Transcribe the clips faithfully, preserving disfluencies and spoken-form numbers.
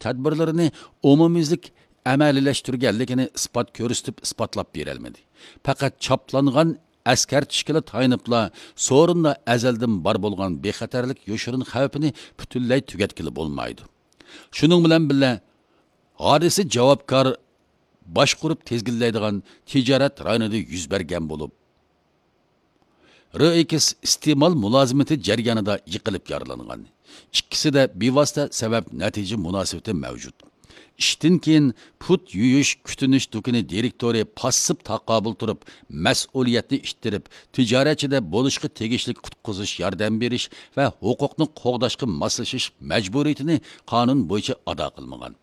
تەدبىرلىرىنى ئومۇميۈزلۈك ئەمەلىيلەشتۈرگەنلىكىنى ئىسپات كۆرسىتىپ ئىسپاتلاپ بېرەلمىدى. پەقەت چاپلانغان ئەسكەرتىشكىلا تايىنىپلا، سورۇندا ئەزەلدىن بار بولغان بىخەتەرلىك يوشۇرۇن خەۋپىنى پۈتۈنلەي تۈگەتكىلى بولمايدۇ. شۇنىڭ بىلەن بىللە، ھادىسە جاۋابكار باشقۇرۇپ تىزگىنلەيدىغان تىجارەت رايونىدا يۈز بەرگەن بولۇپ، رېئېكس ئىستېمال مۇلازىمىتى جەريانىدا يىقىلىپ يارىلانغان. ئىككىسىدە بىۋاسىتە سەۋەب نەتىجە مۇناسىۋىتى مەۋجۇت. ئىشتىن كېيىن پۇت يۇيۇش كۈتۈنۈش دۇكىنى دىرېكتورى پاسسىپ تاقابىل تۇرۇپ، مەسئۇلىيەتنى ئىتتىرىپ، تىجارەتچىدە بولۇشقا تېگىشلىك قۇتقۇزۇش ياردەم بېرىش ۋە ھوقۇقنى قوغداشقا ماسلىشىش مەجبۇرىيىتىنى قانۇن بويىچە ئادا قىلمىغان.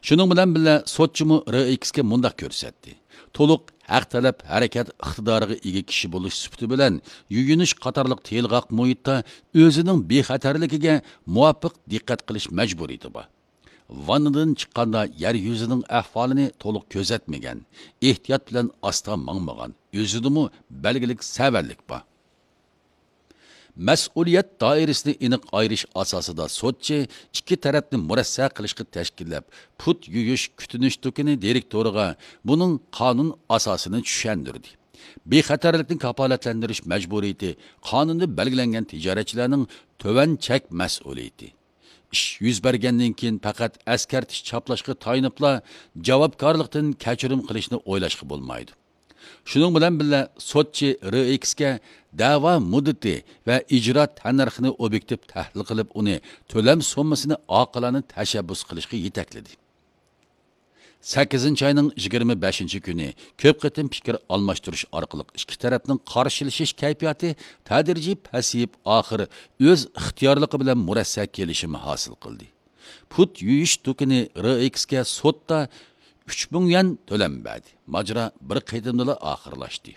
شۇنىڭ بىلەن بىللە، سوتچىمۇ رېئېكسكە مۇنداق كۆرسەتتى: تولۇق ھەق تەلەپ ھەرىكەت ئىقتىدارىغا ئىگە كىشى بولۇش سۈپىتى بىلەن، يۇيۇنۇش قاتارلىق تىلغاق مۇھىتتا ئۆزىنىڭ بىخەتەرلىكىگە مۇۋاپىق دىققەت قىلىش مەجبۇرىيىتى بار. ۋاننىدىن چىققاندا يەر يۈزىنىڭ ئەھۋالىنى تولۇق كۆزەتمىگەن، ئېھتىيات بىلەن ئاستا ماڭمىغان، ئۆزىدىمۇ بەلگىلىك سەۋەنلىك بار. مەسئۇلىيەت دائىرىسىنى ئېنىق ئايرىش ئاساسىدا سوتچى ئىككى تەرەپنى مۇرەسسە قىلىشقا تەشكىللەپ، پۇت يۇيۇش كۈتۈنۈش دۇكىنى دىرېكتورىغا بۇنىڭ قانۇن ئاساسىنى چۈشەندۈردى. بىخەتەرلىكنى كاپالەتلەندۈرۈش مەجبۇرىيىتى قانۇندا بەلگىلەنگەن تىجارەتچىلەرنىڭ تۆۋەن چەك مەسئۇلىيىتى. ئىش يۈز بەرگەندىن كېيىن پەقەت ئەسكەرتىش چاپلاشقا تايىنىپلا جاۋابكارلىقتىن كەچۈرۈم قىلىشنى ئويلاشقا بولمايدۇ. شۇنىڭ بىلەن بىللە، سوتچى رېئېكسكە دەۋا مۇددىتى ۋە ئىجرا تەننەرخىنى ئوبيېكتىپ تەھلىل قىلىپ، ئۇنى تۆلەم سوممىسىنى ئاقىلانە تەشەببۇس قىلىشقا يېتەكلىدى. سەككىزىنچى ئاينىڭ يىگىرمە بەشىنچى كۈنى كۆپ قېتىم پىكىر ئالماشتۇرۇش ئارقىلىق ئىككى تەرەپنىڭ قارشىلىشىش كەيپىياتى تەدرىجىي پەسىيىپ، ئاخىر ئۆز ئىختىيارلىقى بىلەن مۇرەسسە كېلىشىمى ھاسىل قىلدى. پۇت يۇيۇش دۇكىنى رېئېكسكە سوتتا ئۈچ مىڭ يۈەن تۆلەم بەردى. ماجىرا بىر قېتىمدىلا ئاخىرلاشتى.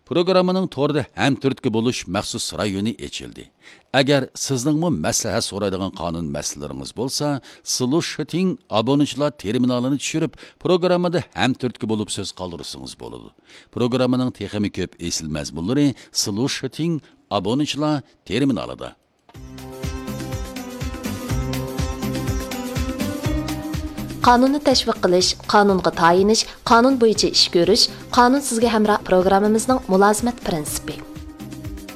پروگراممىنىڭ توردا ھەمتۈرتكە بولۇش مەخسۇس رايونى ئېچىلدى. ئەگەر سىزنىڭمۇ مەسلىھەت سورايدىغان قانۇن مەسىلىلىرىڭىز بولسا، سلۇشىتىڭ ئابۇنىچىلار تېرمىنالىنى چۈشۈرۈپ، پروگراممىدا ھەمتۈرتكە بولۇپ سۆز قالدۇرسىڭىز بولىدۇ. پروگراممىنىڭ تېخىمۇ كۆپ ئېسىل مەزمۇنلىرى سلۇشىتىڭ ئابۇنىچىلار تېرمىنالىدا. قانۇننى تەشۋىق قىلىش، قانۇنغا تايىنىش، قانۇن بويىچە ئىش كۆرۈش، قانۇن سىزگە ھەمراھ پروگراممىمىزنىڭ مۇلازىمەت پىرىنسىپى.